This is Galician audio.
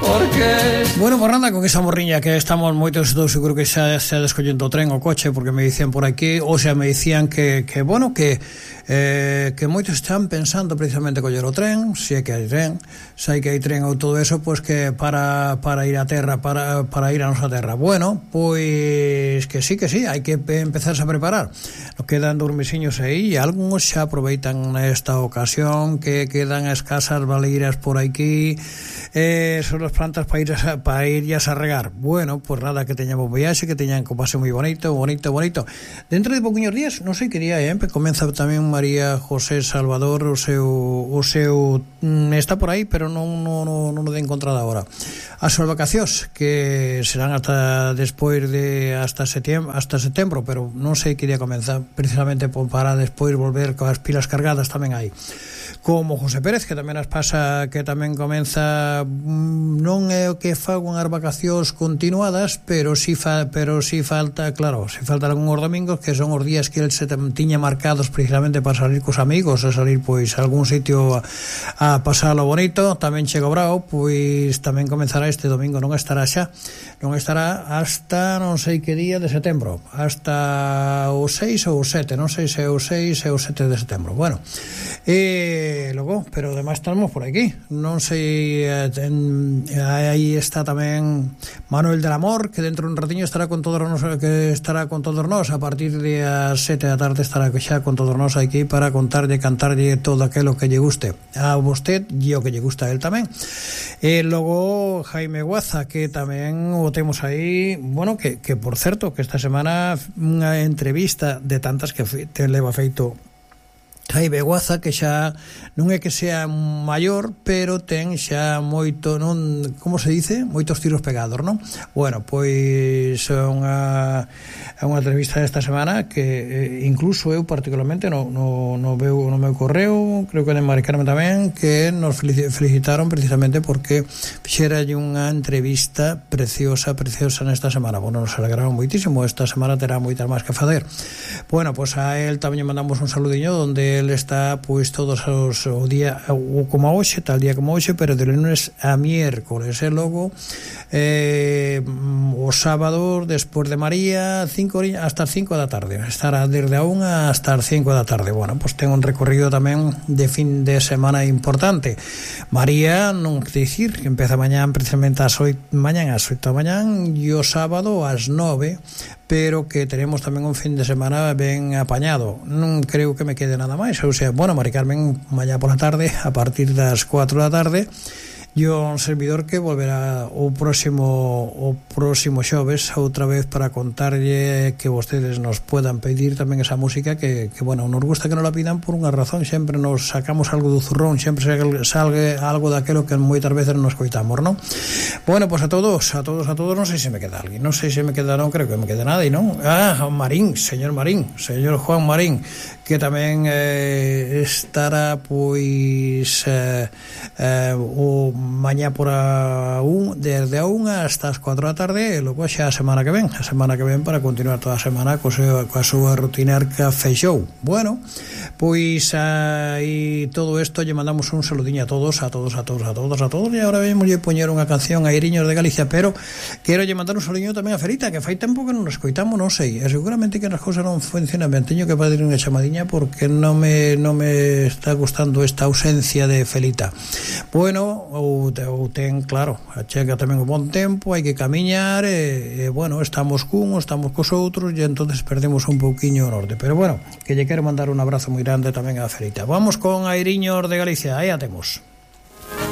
Porque... Bueno, por nada, con esa morriña que estamos moitos, estou seguro que xa descollendo o tren o coche, porque me dicían por aquí, ou sea, me dicían que moitos están pensando precisamente coller o tren, se é que hai tren, se hai que hai tren ou todo eso, pois que para ir a terra, para ir a nosa terra. Bueno, pois que sí, hai que empezarse a preparar. Nos quedan dormisiños aí e algúns xa aproveitan nesta ocasión que quedan escasas baleiras por aquí, son as plantas para irlas a regar. Bueno, pues nada, que teñamos viaxe, que teñan que pase moi bonito. Dentro de pouquiños días, non sei que día comeza tamén María José Salvador o seu está por aí, pero non o de encontrada agora. As súas vacacións que serán hasta despois de hasta setembro, pero non sei que día comeza, precisamente para despois volver coas pilas cargadas tamén hai. Como José Pérez, que tamén as pasa, que tamén comeza, non é o que fago unhas vacacións continuadas, pero si falta, claro, si faltan algúns domingos, que son os días que el se tiña marcados precisamente para salir cos amigos, a salir pois a algún sitio a pasalo bonito. Tamén chega o brao, pois tamén comenzará este domingo, non estará hasta non sei que día de setembro, hasta o 6 ou o 7, non sei se é o 6 ou o 7 de setembro. Bueno, logo, pero además estamos por aquí, non sei, aí está tamén Manuel del Amor, que dentro de un ratiño estará con todos nós, a partir de as 7 da tarde estará xa con todos nós aquí para cantarlle todo aquilo que lle guste a vostede e o que lle gusta a él tamén. E logo Jaime Guaza, que tamén o temos aí, bueno, que por certo, que esta semana unha entrevista de tantas que te leva feito Jaime Guaza, que xa non é que sea maior, pero ten xa moito, non, como se dice, moitos tiros pegados, non? Bueno, pois é unha entrevista desta semana que incluso eu particularmente no meu correo, creo que de Mari Carmen tamén, que nos felicitaron precisamente porque fixeralle unha entrevista preciosa nesta semana. Bueno, nos alegraron moitísimo, esta semana terá moitas máis que facer. Bueno, pois a él tamén mandamos un saludiño donde él está pois todos os o día como hoxe, tal día como hoxe, pero de lunes a miércoles, e logo o sábado despois de María hasta as 5 da tarde, estará desde a 1 hasta as 5 da tarde. Bueno, pois ten un recorrido tamén de fin de semana importante. María, non que dicir, que empeza mañán precisamente ás 8 da mañán e o sábado ás 9, pero que tenemos tamén un fin de semana ben apañado. Non creo que me quede nada máis, ou sea, bueno, Mari Carmen mañá pola tarde a partir das 4 da tarde e un servidor que volverá o próximo xoves outra vez para contarlle que vostedes nos puedan pedir tamén esa música que bueno, nos gusta que nos la pidan por unha razón, sempre nos sacamos algo do zurrón, sempre salgue algo daquelo que moitas veces nos coitamos, non? Bueno, pois a todos, non sei se me queda alguén, non creo que me quede nada, e non? Señor Juan Marín, que tamén estará pois o mañá por desde a 1 hasta as 4 da tarde, e logo xa a semana que ven para continuar toda a semana coa súa rutinarca feixou. Bueno, pois aí todo isto lle mandamos un saludiño a todos, e agora vemos lle poñer unha canción a Airiños de Galicia, pero quero lle mandar un saludiño tamén a Ferita, que fai tempo que non nos escoitamos, non sei, e seguramente que as cousas non funcionan ben, teño que pedir unha chamadiña porque non me está gustando esta ausencia de Felita. Bueno, ou ten, claro, chega tamén un bon tempo, hai que camiñar, e bueno, estamos cos outros, e entonces perdemos un pouquiño o norte, pero bueno, que lle quero mandar un abrazo moi grande tamén a Ferita. Vamos con Airiños de Galicia, aí a temos.